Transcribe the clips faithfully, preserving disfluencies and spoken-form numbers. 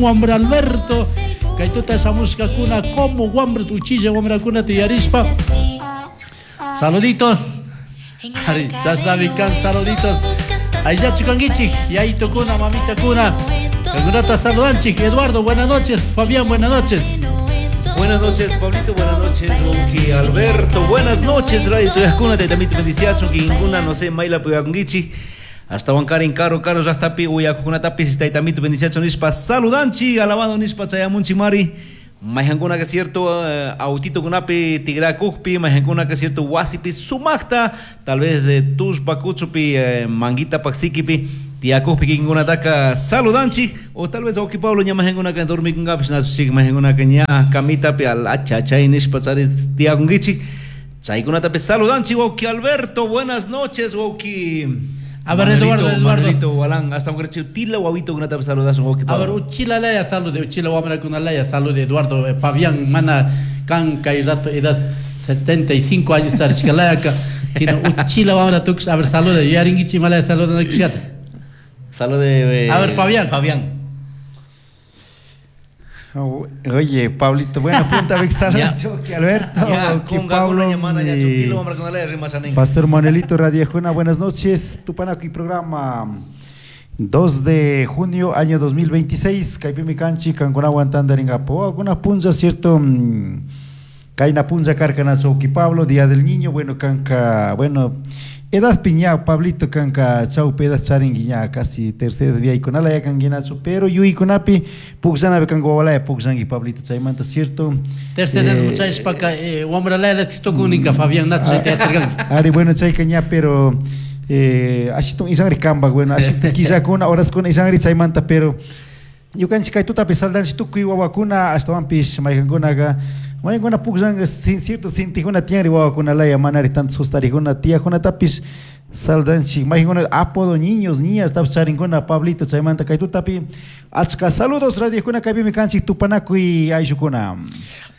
Wambra Alberto, kaytuta shamushkakuna como wambra uchilla wambrakunata yarishpa. Saluditos. Ari, chashnami kan saluditos. Ayllachu kankichik, yayitukuna, mamitakuna. Kankunata saludanchik. Eduardo, buenas noches. Fabián, buenas noches. Buenas noches, Pablito, buenas noches, Wauki Alberto, buenas noches, Radio Tuyakuna, taytamito bendiciachun, kinkuna, no sé, mayla puyakunkichik. Hasta Huancarin, caro, caro, llaqtapi, uyakuqkunatapis, taytamito bendiciachun nishpa saludanchik, alabado nishpa chayamunchik mari. Mayhankuna que cierto, uh, autitukunapi tigrakuqpi, mayhankuna que cierto, wasipi sumaqta, tal vez eh, tushpa kuchupi, eh, manguita paksikipi, tiyakuqpi kikinkunataka saludanchik, o tal vez wawqi Pablo ña mayhankunaka dormikunkapish nachuchik, mayhankunaka ña kamitapi al achay nishpa chari tiyakunkichik. Chaykunatapi saludanchik, wawqi Alberto, buenas noches, wawqi. A ver, Eduardo, Eduardo. Manuelito, Walán, hasta un tila wawito kunatapi saludasun, wawqi A ver, Pablo. uchila laya salude, uchila wamrakuna laya salude, Eduardo, eh, Fabián, mana kan kay rato edad setenta y cinco años charishkalayaka, sino uchila wamra tukush, a ver, salude, yarinkichi malaya saludana kishkata. Salude, eh, A ver, Fabián. Fabián. Oh, oye, Pablito, bueno, punta vez que Alberto, Ya, que con Pablo, Gagona mana ya y chutilo wamrakuna laya rimashanin. Pastor Manuelito Radiajuna, buenas noches. Tupanakuy programa dos de junio, año dos mil veintiséis. Kaypimi kanchik, kankunawan tantarinkapu. Alguna punza, cierto, kayna punza karkanachu wawqi Pablo, Día del Niño, bueno, kanka, bueno, edad piña, Pablito, kanka, chawpi edad charinki ña, casi tercera edad viaykunala ya kanguinachu, pero yuykunapi pukllanapi kanka wawalaya pukllanki, Pablito, chaymanta, cierto. Tercera edad Eh, muchachpaka, eh, wamralaya titukuninka, Fabián, nachu chayta yacharkanki. Ari, bueno, chayka ña, pero, eh, ashitun isanri kamba, bueno, ashitun killakuna, horaskuna isanri chaymanta, pero ñukanchik kay tutapi saldanchik tukuy wawakuna, ashtawanpish mayqankunaqa, mayqankuna pukllanqa, sin cierto sintijuna tiyanri wawakunalaya, manari tanto sustarijuna tiyakunatapish saldanchik, mayqankuna apodo niños, niñas, tapis charinkuna, Pablito, chaymanta kay tutapi achka saludos radiokuna kaypimi kanchik tupanakuy ayllukuna.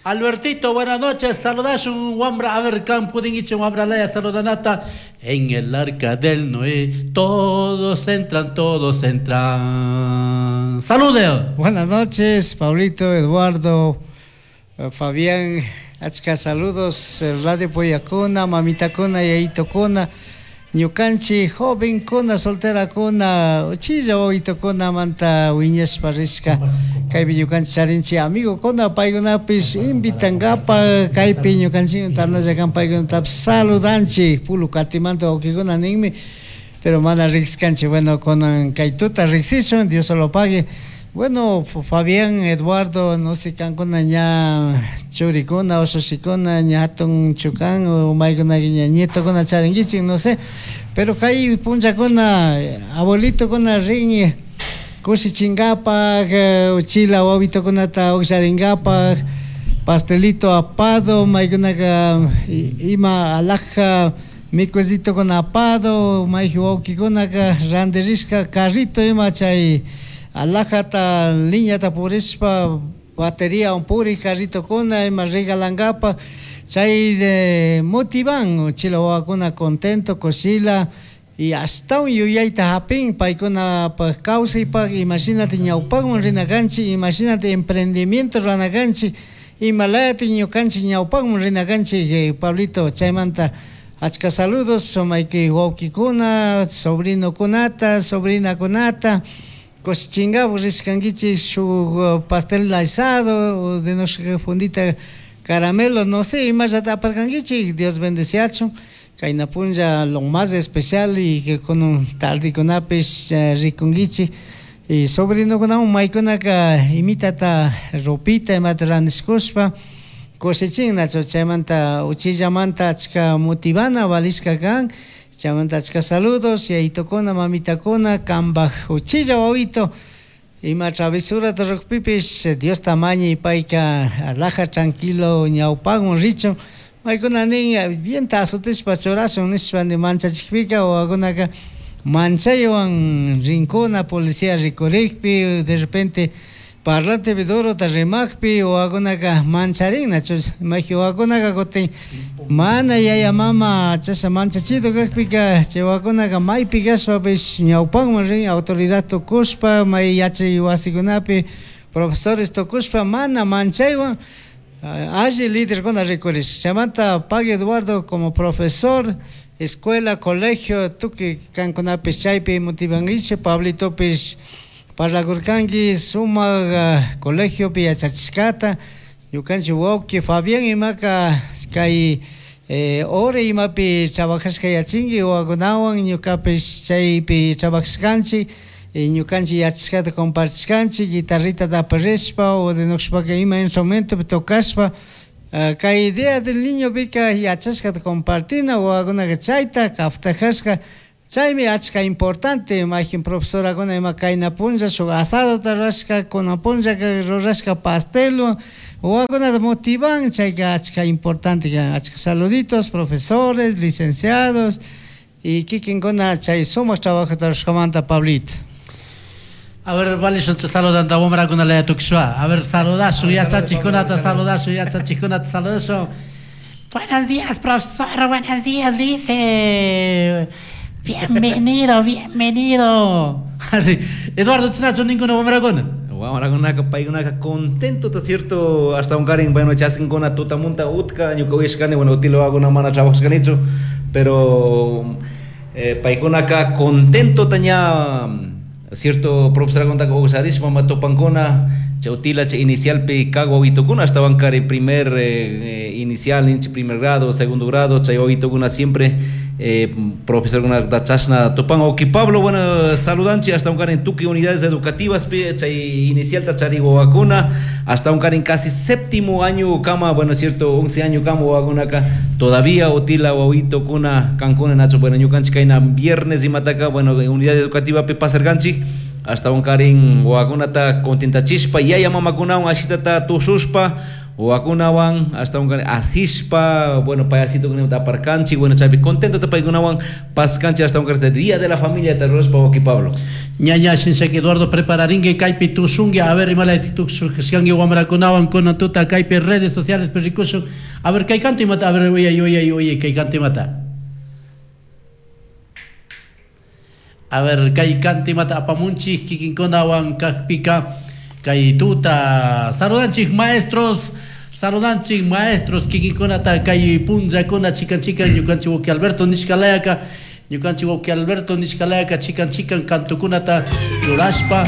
Albertito, buenas noches, saludashun wambra, a ver, kan pudingiche wambra laya saludanata. En el arca del Noé, todos entran, todos entran. Salude. Buenas noches, Pablito, Eduardo, eh, Fabián, achka saludos, Radio Poyacuna, Mamita Cuna, Yaito Cuna, Ñukanchi, joven kuna, soltera kuna, uchilla wawito kuna, manta wiñashpa rishka, kaypi ñukanchi charinchi amigo kuna, paykunapis invitankapa, kaypi ñukanchi tandalla kan paykunatapish saludanchi, pulu katimanta wawqikuna ninmi, pero mana rikskanchi, bueno, kunan kay tuta riksishun, Dios se lo pague. Bueno, F-, Fabián, Eduardo, no sé, kankuna ña churikuna, usushikuna, ña hatun chukan, o maykuna ña nietokuna charinkichik, no sé. Pero kay punchakuna, abuelitokuna rin kushichinkapak, eh, uchila wawitokunata uksharinkapak, pastelito apado, maykunaka ima alhaja mikusitokuna apado, mayji wawkikunaka randirishka carrito ima chay alhajata liñata purishpa batería un puri carritokuna ima regalankapa, chay de motivan uchila wawakuna contento kushila y hasta un yuyayta hapin paykunapaj kawsaypaj, imagínate ñawpakman rinakanchik, imagínate emprendimiento ranakanchik, imalayati ñukanchik ñawpakman rinakanchik, eh, Pablito, chaymanta achka saludos sumayki wawkikuna, sobrinokunata, sobrinakunata, kushichinkapak rishkankichik shuk pastel asado o de nuestra fundita caramelo, no sé, imallata aparkankichik, Dios bendeciachun. Kayna punlla lo más especial y que con un tardikunapish, eh, rikunkichik. Y sobrinokunawan maykunaka imitata ropita imata randishkushpa kushichin nacho, chaymanta uchillamanta achka motivana valishka kan, chaymanta achka saludos yayitokuna, mamitakuna, kambaj uchilla wawito ima travesurata rukpipish Dios tamañi payka alhaja tranquilo ñawpakman richun. Maykuna nin bien azotishpa churashun nishpa ni manchachikpika wawakunaka manchaywan rinkuna policía rikurikpi de repente parlante durota rimakpi wawakunaka mancharin nachu, mayji wawakunaka kutin mana yaya mama chasha manchachido kakpika chay wawakunaka maypi kashpapish ñawpakman rin autoridad tukushpa may yachay wasikunapi Profesores tukushpa mana manchaywan alli líderkuna rikurish. Chaymanta Pagui Eduardo como profesor, escuela, colegio, tukuy kankunapish chaypi motivankichik, Pablitopish parlakurkanki sumak colegiopi yachachishkata, ñukanchik wawki Fabián imaka kay eh, ore imapi trabajashka yachinki wawakunawan ñukapish chaypi trabajashkanchik, ñukanchik yachashkata compartishkanchik, guitarrita aparishpa o de nushpaka ima instrumentopi tocashpa, kay idea del niño pika yachashkata compartina wawakunaka chayta kaftajashka, chaymi achka importante mayjin profesorakuna ima kayna punlla shuk asadota rurashka, kunan punllaka rurashka pastelwan wawakunata motivan, chayka achka importante kan, achka saluditos profesores, licenciados y kikinkuna chay sumak trabajota rurashkamanta Pablito. A ver, vale, saludando a wamrakuna laya tukishwa. A ver, saludasun, yachachikunata saludasun, yachachikunata saludasun. Buenos días, profesor, buenos días, dice. Bienvenido, bienvenido. Así, Eduardo, chinachu ninguna wamrakuna. Wamrakunaka paykunaka contento, está cierto, hasta un karin, bueno, chaskinkuna tutamunta utka, ñuka uyashkani, bueno, utila wawakuna mana trabajashkanichu, pero eh, paykunaka contento taña, cierto, profesorakunataka uqsharishpa mama tupankuna, chay utila chay inicialpi kag wawitukuna hasta karin primer eh, inicial, ninchi primer grado, segundo grado, chay wawitukuna siempre eh, profesorkunata chashna tupan. Oki Pablo, bueno, saludanchi hasta karin tukuy unidades educativas pi chay inicialta chari wawakuna hasta karin casi séptimo año kama, bueno, cierto, once año kama wawakunaka todavía utila wawitukuna kankuna nacho, bueno, ñukanchik kayna viernes imataka, bueno, unidad educativa pi pasarkanchik hasta karin wawakunata contentachishpa yaya mamakunawan ashitata tushushpa wawakunawan hasta karin asishpa, bueno, payasito kunata aparkanchik, bueno, chaypi contento paykunawan paskanchik hasta karin día de la familia ta rurashpa wawki Pablo. Ñaña shinsaki Eduardo prepararinki kaypi tushunki, a ver imalaytik tushunki wamrakunawan kunan tuta kaypi redes sociales rikushun, a ver kay canto imata, a ver uyay uyay uyay kay canto imata. A ver, kay canto imata apamunchik kikinkunawan kajpika kay tuta saludanchik maestros, saludanchik maestros kikinkunata kay punllakuna chikan chikan ñukanchik wawki Alberto nishkalayaka, ñukanchik wawki Alberto nishkalayaka chikan chikan kantukunata rurashpa.